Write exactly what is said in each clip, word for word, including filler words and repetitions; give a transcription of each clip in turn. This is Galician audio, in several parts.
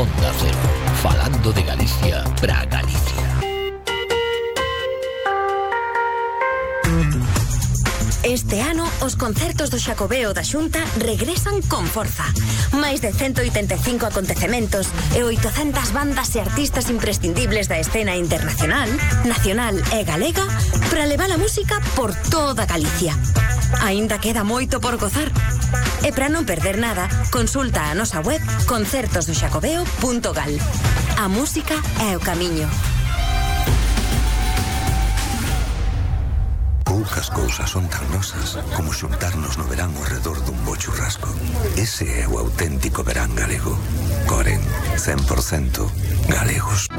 Onda Cero, falando de Galicia para Galicia. Este ano, os concertos do Xacobeo da Xunta regresan con forza. Máis de ciento oitenta e cinco acontecementos e oitocentas bandas e artistas imprescindibles da escena internacional, nacional e galega para levar a música por toda Galicia. Aínda queda moito por gozar. E para non perder nada, consulta a nosa web concertos do xacobeo punto gal. A música é o camiño. Poucas cousas son tan nosas como xuntarnos no verán ao redor dun bo churrasco. Ese é o auténtico verán galego. Coren, cen por cento galegos.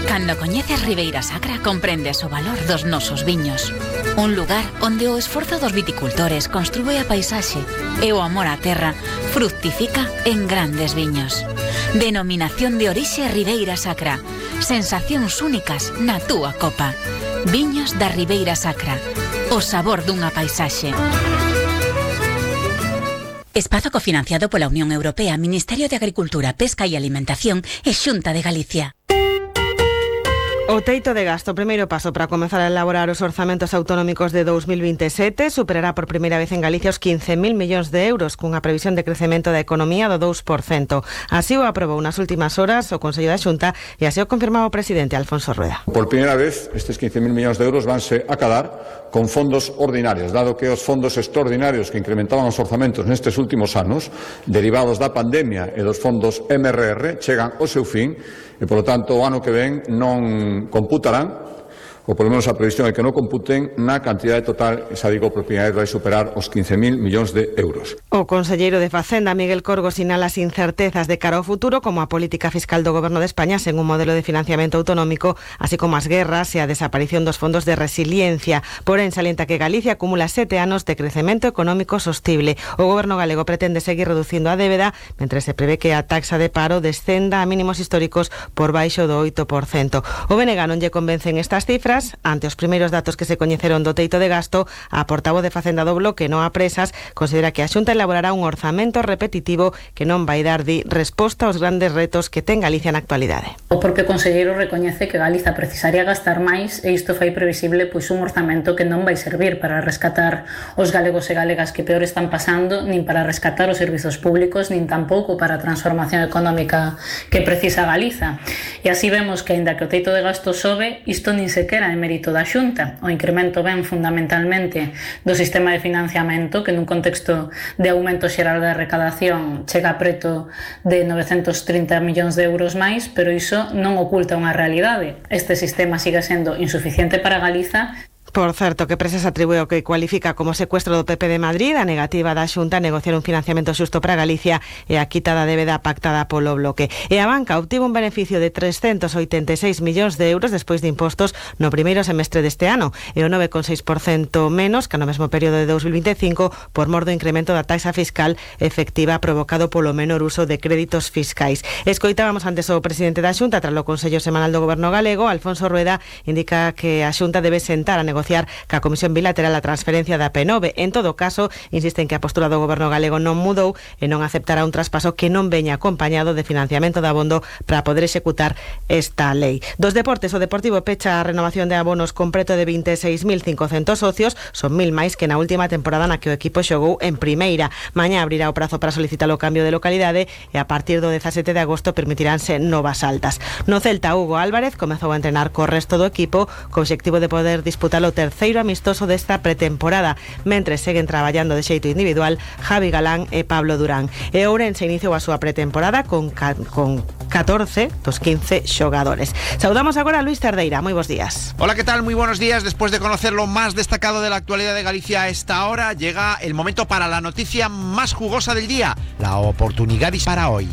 Cando coñeces Ribeira Sacra comprendes o valor dos nosos viños. Un lugar onde o esforzo dos viticultores construe a paisaxe e o amor á terra fructifica en grandes viños. Denominación de orixe Ribeira Sacra. Sensacións únicas na túa copa. Viños da Ribeira Sacra. O sabor dunha paisaxe. Espazo cofinanciado pola Unión Europea, Ministerio de Agricultura, Pesca e Alimentación e Xunta de Galicia. O teito de gasto, o primeiro paso para comenzar a elaborar os orzamentos autonómicos de dos mil vinte e sete, superará por primeira vez en Galicia os quince mil millóns de euros, cunha previsión de crecemento da economía do dous por cento. Así o aprobou nas últimas horas o Consello da Xunta e así o confirmaba o presidente Alfonso Rueda. Por primeira vez, estes quince mil millóns de euros vanse acadar con fondos ordinarios, dado que os fondos extraordinarios que incrementaban os orzamentos nestes últimos anos, derivados da pandemia e dos fondos M R R, chegan ao seu fin e, polo tanto, o ano que ven non computarán, ou polo menos a previsión é que non computen na cantidade total, esa digo, por primeira vez vai superar os quince mil millóns de euros. O conselleiro de Facenda, Miguel Corgo, sinala as incertezas de cara ao futuro, como a política fiscal do Goberno de España sen un modelo de financiamento autonómico, así como as guerras e a desaparición dos fondos de resiliencia. Porén, salienta que Galicia acumula sete anos de crecemento económico sostible. O Goberno galego pretende seguir reducindo a débeda, mentre se prevé que a taxa de paro descenda a mínimos históricos por baixo do oito por cento. O B N G non lle convencen estas cifras. Ante os primeiros datos que se coñeceron do teito de gasto, a portavoz de Facenda do Bloque, Noa Presas, considera que a Xunta elaborará un orzamento repetitivo que non vai dar di resposta aos grandes retos que ten Galicia na actualidade. O propio conselleiro recoñece que Galiza precisaría gastar máis e isto fai previsible pois un orzamento que non vai servir para rescatar os galegos e galegas que peor están pasando, nin para rescatar os servizos públicos, nin tampouco para a transformación económica que precisa Galiza. E así vemos que, aínda que o teito de gasto sobe, isto nin sequera é mérito da Xunta. O incremento ven fundamentalmente do sistema de financiamento, que nun contexto de aumento xeral da recadación chega preto de novecentos trinta millóns de euros máis, pero iso non oculta unha realidade. Este sistema sigue sendo insuficiente para Galiza. Por certo, que Presas atribúe o que cualifica como secuestro do P P de Madrid a negativa da Xunta a negociar un financiamento xusto para Galicia e a quita da débeda pactada polo Bloque. E a banca obtivo un beneficio de trescentos oitenta e seis millóns de euros despois de impostos no primeiro semestre deste ano e o nove coma seis por cento menos que no mesmo período de dos mil vinte e cinco por mor do incremento da taxa fiscal efectiva provocado polo menor uso de créditos fiscais. Escoitábamos antes o presidente da Xunta tras o Consello Semanal do Goberno galego. Alfonso Rueda indica que a Xunta debe sentar a negociar ca Comisión Bilateral a transferencia da P nove. En todo caso, insisten que a postura do Goberno galego non mudou e non aceptará un traspaso que non veña acompañado de financiamento de abondo para poder executar esta lei. Dos deportes, o Deportivo pecha a renovación de abonos con preto de vinte e seis mil cincocentos socios, son mil máis que na última temporada na que o equipo xogou en primeira. Mañá abrirá o prazo para solicitar o cambio de localidade e a partir do dezasete de agosto permitiránse novas altas. No Celta, Hugo Álvarez comezou a entrenar co resto do equipo co obxectivo de poder disputar o terceiro amistoso desta pretemporada, mentre seguen traballando de xeito individual Javi Galán e Pablo Durán. E Ourense iniciou a súa pretemporada con, con catorce dos quince xogadores. Saudamos agora a Luis Cerdeira. Moi bons días. Hola, ¿qué tal? Muy buenos días. Después de conocer lo más destacado de la actualidad de Galicia a esta hora, llega el momento para la noticia más jugosa del día, la oportunidad para hoy.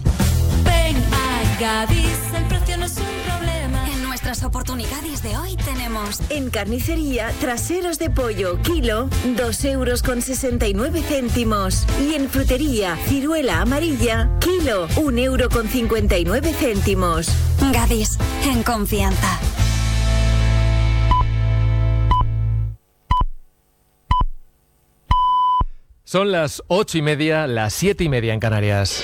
Ven a Gadis, el precio no es un problema. En nuestras oportunidades de hoy tenemos en carnicería traseros de pollo kilo dos euros con sesenta y nueve céntimos y en frutería ciruela amarilla kilo un euro con cincuenta y nueve céntimos. Gadis, en confianza. Son las ocho y media, las siete y media en Canarias.